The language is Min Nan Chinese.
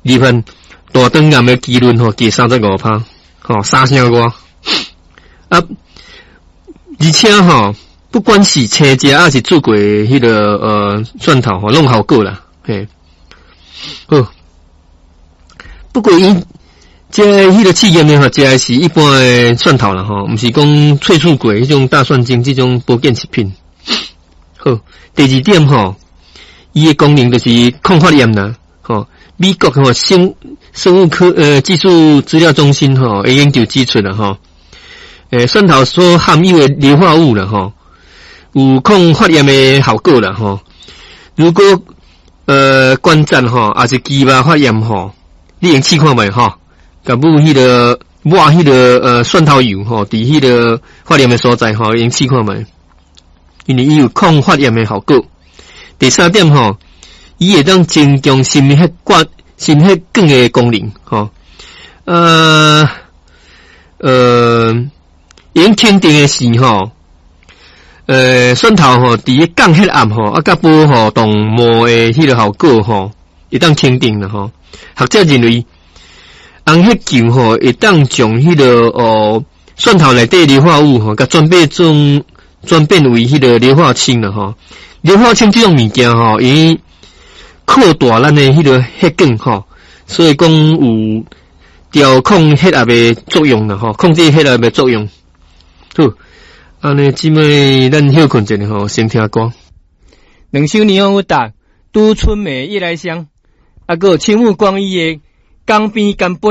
罹患大腸癌的機率吼低35%，吼三成外。啊，而且吼，不管是青食抑是煮過彼个蒜頭吼，攏有效果啦，嘿。好，不過伊這彼個試驗呢吼，食的是一般的蒜頭啦吼，毋是講萃取過彼種大蒜精這種保健食品。好，第二點吼，伊的功能就是抗發炎啦，吼。美國吼生物科技術資料中心吼，研究指出啦吼，蒜頭所含有的硫化物啦吼，有抗發炎的效果啦吼。如果關節吼，抑是肌肉發炎吼，你會試看覓吼，共抹彼個抹彼個蒜頭油吼，佇彼個發炎的所在吼，會試看覓，因為伊有抗發炎的效果。第三點吼，伊會當增強心血管的功能吼，會肯定的是吼，蒜頭吼，佇咧降血壓吼，啊，佮保護動脈的彼個效果吼，會當肯定啦吼。學者認為，紅血球吼會當將彼個蒜頭內底硫化物吼，共轉變為彼個硫化氫啦吼。硫化氫這種物件吼，伊擴大咱的彼個血管吼，所以講有調控血壓的作用啦吼，控制血壓的作用。好，按呢這擺咱歇睏一下吼，先聽歌。兩首霓虹有搭拄春暝夜來香，啊，閣有青木光一的《江邊乾杯》。